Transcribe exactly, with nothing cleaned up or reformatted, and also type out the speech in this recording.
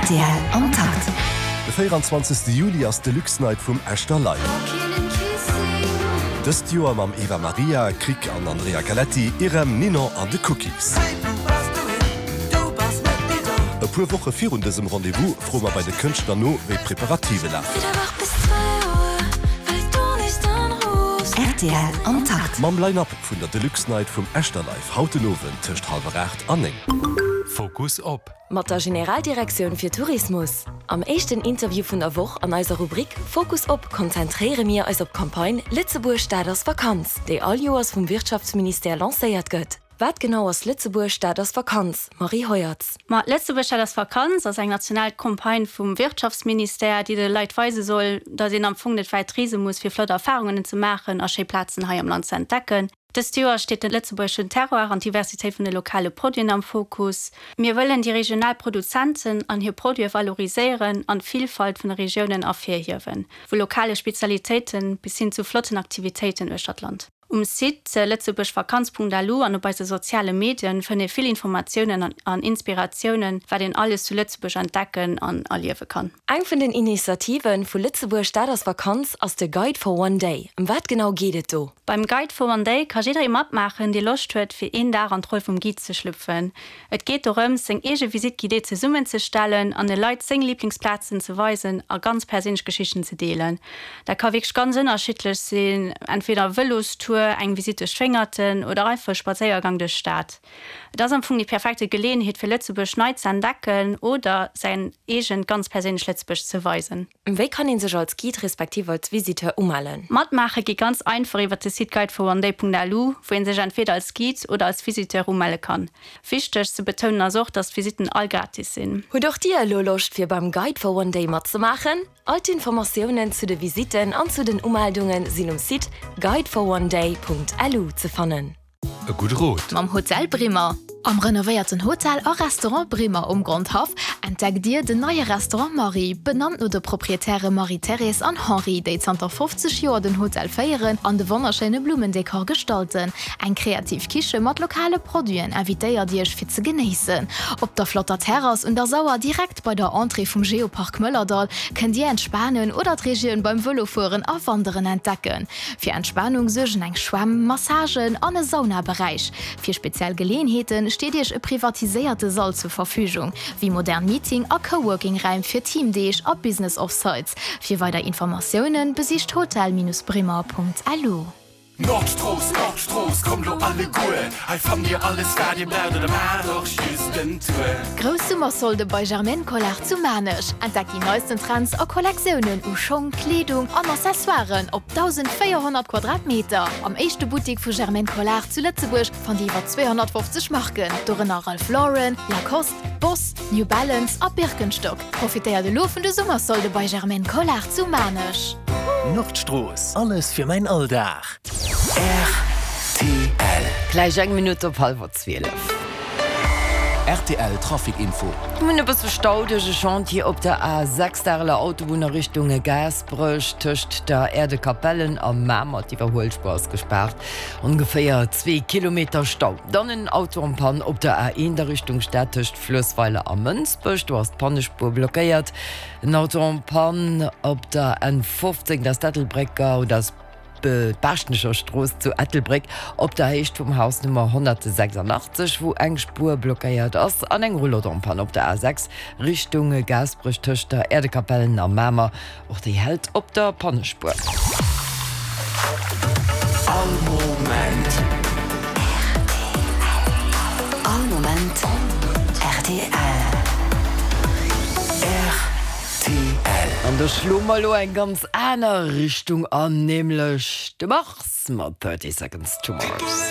Rtl am Takt. De véieranzwanzegste Juli ass d'Deluxe Night vum Echter Live. Dëst Joer mam Eva Maria, Krick an Andrea Galetti, Irem, Ninon an de Cookies. E puer Woche virun dësem Rendez-vous froe mer bei de Kënschtler no, wéi d'Preparative lafen. Rtl am Takt. Mam Line-Up vun der Deluxe Night vum Echter Live haut den Owend tëscht hallwer aacht an néng. Fokus op. Mat der Generaldirektioun fir Tourismus. Am éischten Interview vun der Woch an eiser Rubrik Fokus op konzentréiere mir eis op d'Campagne Lëtzebuerg, dat ass Vakanz, déi all Joers vum Wirtschaftsministère lancéiert gëtt. Wat genau ass Lëtzebuerg, dat ass Vakanz, Marie Heuertz? Ma Lëtzebuerg, dat ass Vakanz ass eng national Campagne vum Wirtschaftsministère, déi de Leit weise soll, datt een am Fong net wäit reese muss, fir flott Erfarungen ze maachen a schéi Plazen hei am Land ze entdecken. Dëst Joer steet de lëtzebuergeschen Terroir an d'Diversitéit vun de lokale Produiten am Fokus. Mir wëllen déi regional Produzenten an hir Produite valoriséieren an d'Villfalt vun de Regiounen ervirhiewen, vu lokale Spezialitéite bis hin zu flotten Aktivitéiten uechter d'Land. Um Site lëtzebuergvakanz.lu an op eise soziale Medien fënnt ee vill Informatiounen an Inspiratiounen, wat een alles zu Lëtzebuerg entdecken an erliewe kann. Eng vun den Initiative vu Lëtzebuerg, dat ass Vakanz ass de Guide for One Day. Ëm wat genau geet et do? Beim Guide for One Day ka jidderee matmaachen, dee Loscht huet, fir een Dag an d'Roll vum Guide ze schlüpfen. Et geet dorëms, seng eege Visite guidée zesummenzestellen an de Leit seng Liblingsplazen ze weisen a ganz perséinlech Geschichten ze deelen. Dat ka wierklech ganz ënnerschiddlech sinn, entweder e Vëlostour, eng Visitt duerch d'Wéngerten oder einfach e Spadséiergang duerch d'Stad. Et ass am Fong déi perfekte Geleeënheet, fir Lëtzebuerg nei ze entdecken oder säin eegent ganz perséinlecht Lëtzebuerg ze weisen. Wéi kann ee sech als Guide respektiv als Visiteur umellen? Matmaache geet ganz einfach iwwer de Site guideforonday.lu, wou ee sech entweder als Guide oder als Visiteur umelle kann. Wichteg ze betounen ass och, dass d'Visitten all gratis sinn. Hutt och Dir elo Loscht fir beim Guide for One Day matzemaachen? All d'Informatiounen zu de Visitten an zu den Umeldunge sinn um Site guideforonday.lu ze fannen. E gudde Rot. Mam Hotel Brimmer. Am renovéierten Hotel a Restaurant Brimmer um Grondhaff entdeckt Dir den neie Restaurant Marie, benannt no de Proprietäre Marie-Thérèse an Henri, déi zanter fofzeg Joer den Hotel féieren an de wonnerschéine Blummendekor gestalten. Eng kreativ Kiche mat lokale Produiten invitéiert Iech fir ze genéissen. Op der flotter Terrass un der Sauer direkt bei der Entrée vum Geopark Mëllerdall kënnt Dir entspanen oder d'Regioun beim Vëlofueren a Wanderen entdecken. Fir Entspanung suergen eng Schwämm, Massagen an e Saunaberäich. Fir speziell Geleeënheete steet Iech e privatiséierte Sall zur Verfügung, wéi modern Meeting a Coworking-Räim fir Teamdeeg a Business Offsites. Fir weider Informatioune besicht hotel-brimmer.lu. Nordstrooss, Nordstrooss, kommt lo alleguer, hei fannt dir alles wat dir braucht oder maacht och just en Tour. Grouss Summersolde bei Germaine Collard zu Maarnech. Entdeckt déi neisten Trends a Kollektiounen u Schong, Kleedung an Accessoiren op dausendvéierhonnert Quadratmeter. Am éischte Buttik vu Germaine Collard zu Lëtzebuerg fannt Dir iwwer zweehonnertfofzeg Marken, dorënner Ralph Lauren, Lacoste, Boss, New Balance a Birkenstock. Profitéiert elo vun de Summersolde bei Germaine Collard zu Maarnech. Nordstrooss, alles fir mäin Alldag. Rtl. Gläich eng Minutt op hallwer zwielef. Rtl Trafic Info. Mir hunn e bësse Stau duerch e Chantier op der A sechs, d'Areler Autobunn a Richtung Gaasperech. Tëscht der Aire de Capellen a Mamer, d'Iwwerhuelspuer ass gespaart. Ongeféier zwee Kilometer Stau. Dann en Auto en panne op der A eent a Richtung Stad tëscht Fluessweiler a Mënsbech, do ass d'Pannespuer blockéiert. En Auto en panne op der N fofzéng, dat ass d'Ettelbrécker oder ass d'Baaschtnecher Strooss zu Ettelbréck op der Héicht vum Haus Nummer honnertsechsundachtzeg, wou eng Spuer blockéiert ass, an eng Roulotte en panne op der A sechs Richtung Gaasperech tëscht der Äerdekapellen a Mamer, och déi hält op der Pannespuer. All Moment. All Moment rtl. Rtl. An do schloe mer elo eng ganz aner Richtung an, nämlech de Mars mat thirty Seconds to Mars.